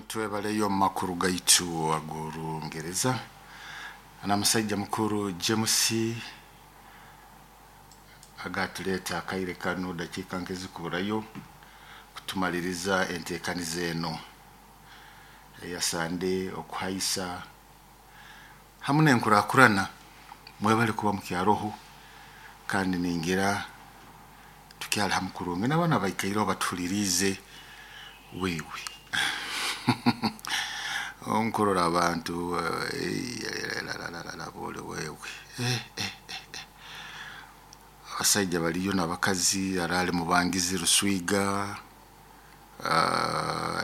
Twebaleyo omu makuru gaitu ag'Orungereza na musaija mukuru James agatuleeta akaire kanu dakiika nk'ezikuburayo kutumaliriza enteekaniza eno eya Sande okuhaisa hamu n'enkurakurana. Mwebale kuba mukyaroho kandi ningira tukyali hamu kurungi n'abaana abaikaireho batuhuliriize wewe nkurora abantu bole wewe abasaija baliyo n'abakazi araali Mubangizi Ruswiga,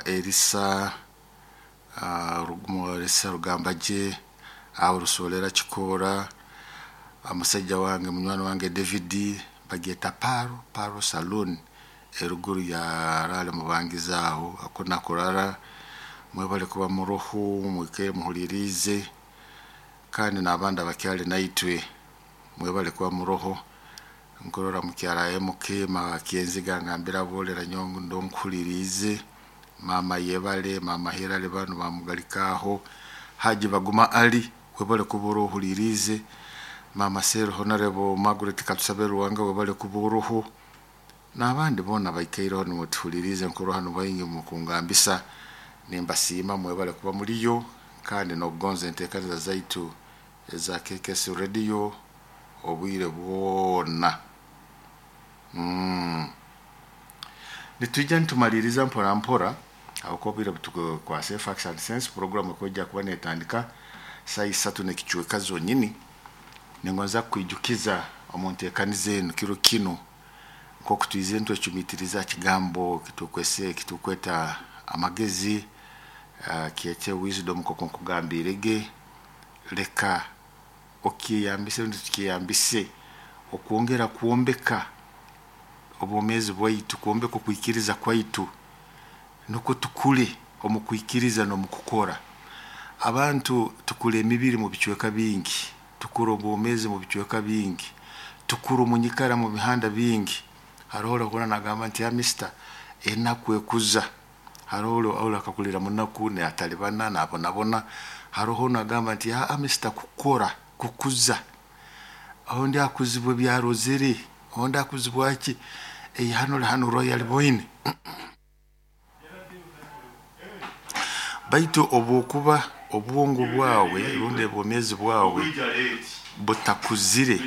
Erisa Erisa Rugambagye, aho Rusolera Kikoora, omusaija wange munywani wange David bagyeta Paro, Paro Saloon eruguru ya araali Mubangizi aho aku nakurara. Mwebale kuba muroho mwikaire muhuliriize kandi n'abandi abakyali naitwe mwebale kuba muroho. Nkurora mukyara MK Makenziga ngambira abolera nyowe ndo nkuhuliriize, maama yebale, maama Hilary banu bamugalika aho, Haji Baguma Ali webale kuba orohuliriize, maama Sero Honorable Margaret Katusabe Ruwanga webale kuba oroho, n'abandi boona baikaireho nimutuhuliriize nkurora hanu baingi mukungambisa nimbasiima mwebale kuba muliyo kandi n'okugonza enteekaniza zaitu eza KKS Radio obwire bwona. Nitwija nitumaliriza mpora mpora habwokuba obwire butukwase. Facts and Sense program ekwija kuba netandika saaha isatu n'ekicweka zonyini. Ningonza kukwijukiza omu nteekaniza enu kiro kinu nk'oku twizire nitwecumiitiriza ha kigambo kitukwese kitukweta amagezi, kyete wisdom nk'oku nkugambiirege. Leka okyeyambise rundi tukyeyambise okwongera kwombeka obwomeezi bwaitu, kwombeka okwikiriza kwaitu nukwo tukule omu kwikiriza n'omu kukora. Abantu tukura emibiri mu bicweka bingi, tukura obwomeezi mu bicweka bingi, tukura omu nyikara mu bihanda bingi. Haroho orahurra nagamba nti mister enaku ekuza, haroho ori akakulira munaku natalibana nabonabona, haroho nagamba nti mister kukora kukuza, ondi akuzibwa ebyarozere, ondi akuzibwa ki, hanu ori hanu Royal Boyne. Baitu obwokuba obwongo bwawe rundi obwomeezi bwawe butakuzire,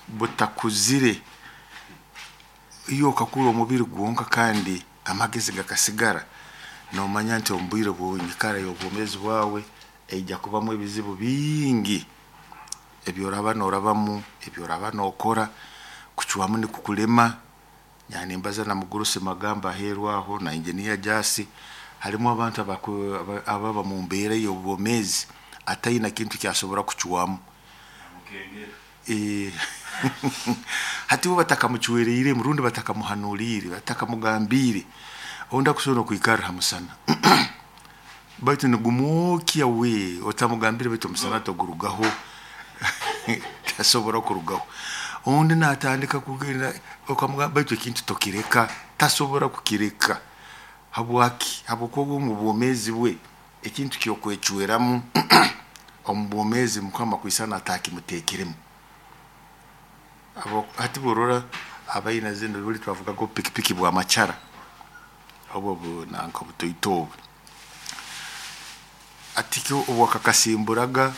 butakuzire, iyo okakura omubiri gwonka kandi amagezi gakasigara, nomanya nti omu bwire bw'enyikara y'obwomeezi bwawe eija kubamu ebizibu bingi ebyoraba norabamu, ebyoraba nokora, kucwamu nikukulema. Nimbaza na mugurusi Magamba aheeru aho na engineer Jasi, harimu abantu ababa mu mbeera y'obwomeezi ataina kintu kyasobora kucwamu. Hati bo batakamucwereiremu rundi batakamuhanuliire, batakamugambiire, ondi akusobora n'okwikarra ha musana baitu nigumwokya we otamugambire baitu omusana togurugaho, tasobora kurugaho. Ondi natandika kugenda okamugamba baitu ekintu tokireka, tasobora kukireka. Habwaki? Habwokuba omu bwomeezi bwe ekintu ky'okwecweramu omu bwomeezi Mukama kwisana atakimuteekiremu. Hati bworora abaina zinu buli twavugaga obupikipiki bwa macara obu nanka obutoito obu, hati obu wakakasimburaga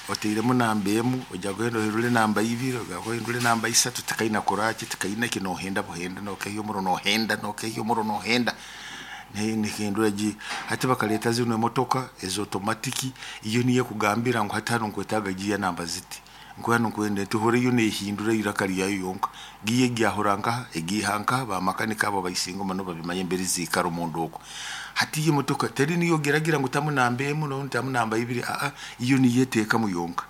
otairemu namba emu ojya kugenda ohindule namba ibiri, ohindule namba isatu, tikaina kuraki, tikaina ki, nohenda buhenda, nokehya omuro nohenda, nokehya omuro nohenda, nihindura gi. Hati bakaleeta zinu emotoka eza otomatiki, iyo niyo ekugambira ngu hati hanu nkwetaaga giya namba ziti, ngu hanu nkwenda eti, ehura yo nehindura iraka ryayo yonka, giya egyahura nkaha, egiiha nkaha, bamakanika abo baisinga muno babimanya emberi ziikara omunda oku. Hati iyo emotoka teri niyo ogeragira ngu tamu namba emu rundi tamu namba ibiri, iyo niyo eteekamu yonka.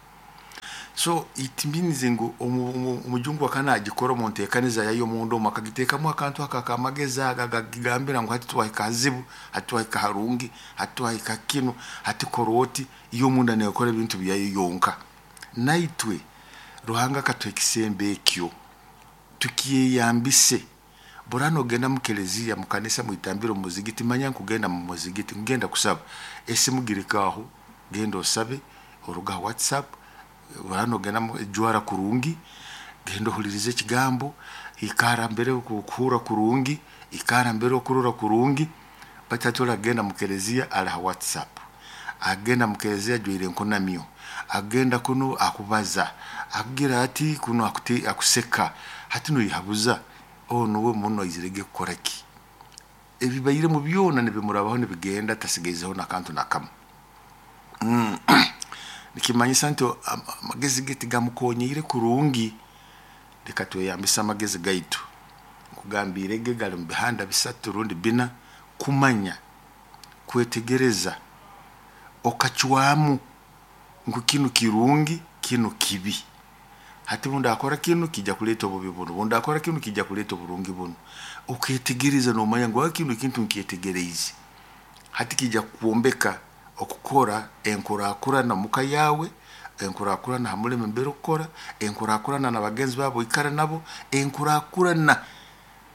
So it means ngu omujungu akaba nagikora omu nteekaniza yayo omunda omu akagiteekamu akantu ako ak'amagezi ago agakugambira ngu hati twahika hazibu, hati twahika harungi, hati twahika kinu, hati kora oti, iyo omunda nekora ebintu byayo yonka. Naitwe Ruhanga akatuha ekisembo ekyo, tukyeyambise. Burano ogenda mu keleziya, mu kanisa, mwitambiro, mu muzigiti, manya nkugenda mu muzigiti ngenda kusaba, esimu girikaaho, genda osabe oruga ha WhatsApp. Burano ogenda jwara kurungi, genda ohulirize ekigambo, ikara mbere okuhurra kurungi, ikara mbere okurora kurungi. Baitu hati oragenda mu keleziya ali ha WhatsApp, agenda mu keleziya ajwaire enkunamyo, agenda kunu akubaza, akugira ati kunu akuseka, hati noihabuza onu uwe muno aizirege kukora ki? Ebibairemu byona nibimurabaho nibigenda, tasigaizeho nakantu nakamu. Nikimanyisa nti amagezi ge tigamukonyiire kurungi. Leka tweyambise amagezi gaitu. Nkugambiire ge gali mu bihanda 3 rundi 4: kumanya, kwetegereza, okacwamu ngu kinu kirungi, kinu kibi. Hati bundakora kinu kijja kuleeta obubi bunu, bundakora kinu kijja kuleeta oburungi bunu. Oketegereza nomanya ngu kinu ekintu nkyetegereize. Hati kijja kukwombeka okukora enkurakurana muka yawe, enkurakurana ha mulimo mbere okukora, enkurakurana na bagenzi babo oikara nabo, enkurakurana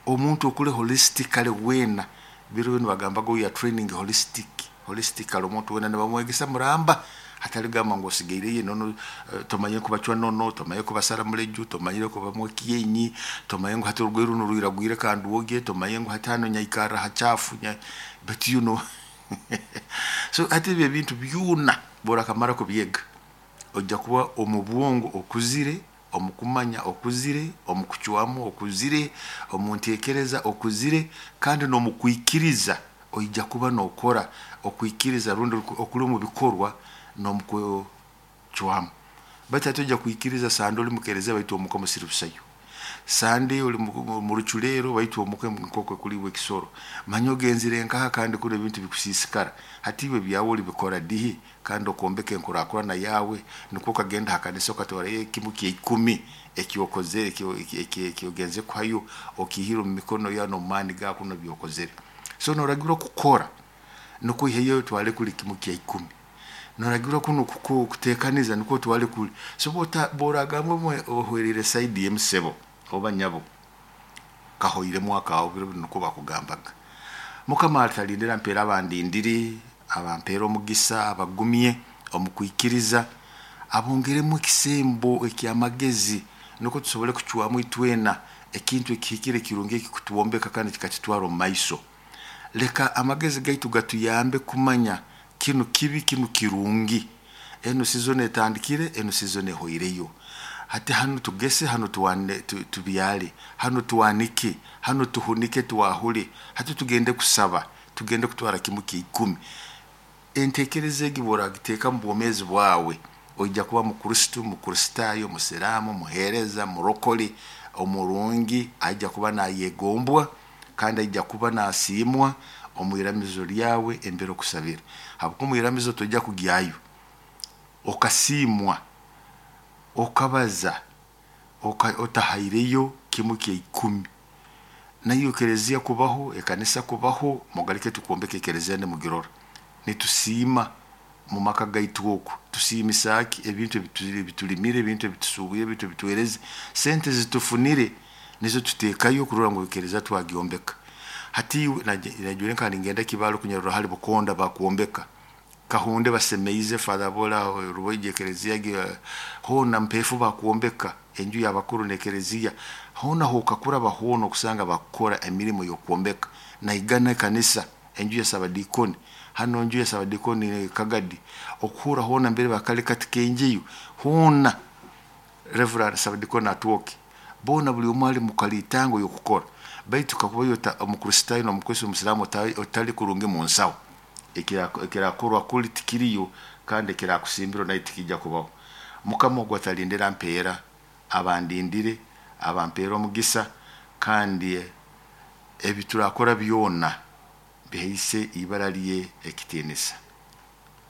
omuntu okule holistically weena. Biro binu bagambaga we are training holistically, omuntu weena nibamwegesa muramba, hatali gamba ngu osigaireyo nono, tomanyire kubacwa nono, tomanyire kubasara muleju, tomanyire kubamwa ekyenyi, tomanyire ngu hati orugoye runu rwiragwire kandi wogye, tomanyire ngu hati hano nyaikarra hachafu, but you know. So hati ebyo ebintu byona borakamara kubyega, ojja kuba omu bwongo okuzire, omu kumanya okuzire, omu kucwamu okuzire, omu ntekereza okuzire, kandi n'omu kwikiriza oija kuba nokora okwikiriza rundi okuli omu bikorwa n'omu kucwamu. Baitu hati ojja kwikiriza sande oli mukereziya baitu omuka musiri busayo, sande oli mu ruculero baitu omuka nkoko kuliibwa ekisoro, manya ogenzire nkaha kandi kunu ebintu bikusiisikara. Hati iwe ebyawe olibikora dihi kandi okombeka enkurakurana yawe, nukwo okagenda ha kanisa okatwarayo ekimu kya 10 ekyokozere, ekyogenze kuhayo, okihire omu mikono yawe n'omu maani gawe kuno byokozere. So noragirwa kukora nukwo oiheyo otwale kuli kimu kya 10, noragirwa kuno kutekaniza nukwo otwale kuli. So boragamba omwe ohwerire saidi y'emusebo oba nyabo kahoiremu akaho, biro binu nukwo bakugambaga. Mukama atalindira mpeera abandindire, abampeera omugisa, abagumye omu kwikiriza, abongeremu ekisembo eky'amagezi nukwo tusobole kucwamu itwena ekintu ekihikire kirungi ekikutwombeka kandi kikatutwara omu maiso. Leka amagezi gaitu gatuyambe kumanya kinu kibi, kinu kirungi. Enu season etandikire, enu season ehoireyo. Hati hanu tugese, hanu tubyale, hanu twanike, hanu tuhunike, twahule. Hati tugende kusaba, tugende kutwara kimu kya 10. Entekereza egi bworagiteeka mu bwomeezi bwawe, oija kuba mukristo, mukristayo, musiraamu, muheereza, murokole, omurungi, aija kuba nayegombwa kandi aija kuba nasiimwa omu iramizo lyawe embere okusabira. Habwokuba omu iramizo toija kugyayo okasiimwa, okabaza, otahaireyo kimu kya 10. Nayo ekereziya kubaho, ekanisa kubaho, mugarike tukwombeka ekereziya nimugirora. Nitusiima mu maka gaitu oku, tusiimisa ki ebintu ebitulimire, ebintu ebitusuubwire, ebintu ebituhereze, sente zitufunire nizo tuteekayo kurora ngu ekereziya twagyombeka. Hati najure nka ningenda Kibaale kunyarura hali Bukonda bakwombeka, Kahunde basemeize Father Bola Ruboije ekereziya hoona Mpeefu bakwombeka enju y'abakuru n'ekereziya, hoona hokakura bahoona okusanga bakukora emirimo y'okwombeka. Naigana ekanisa enju ya Sabadikoni, hano enju ya Sabadikoni Kagadi, okuhura hoona mbere bakali kati kenjeyo hoona Reverend Sabadikoni atwoke, boona buli omu ali mu kalitango y'okukora. Baitu kakuba omukristayo n'omukristo omusiraamu otali kurungi mu nsaho, ekirakorwa kuli tikiriyo kandi ekirakusimbirwa nayo tikijja kubaho. Mukama ogwo atalindira mpeera, abandindire, abampeera omugisa, kandi ebi turakora byona bihaise ibara lye ekitiinisa.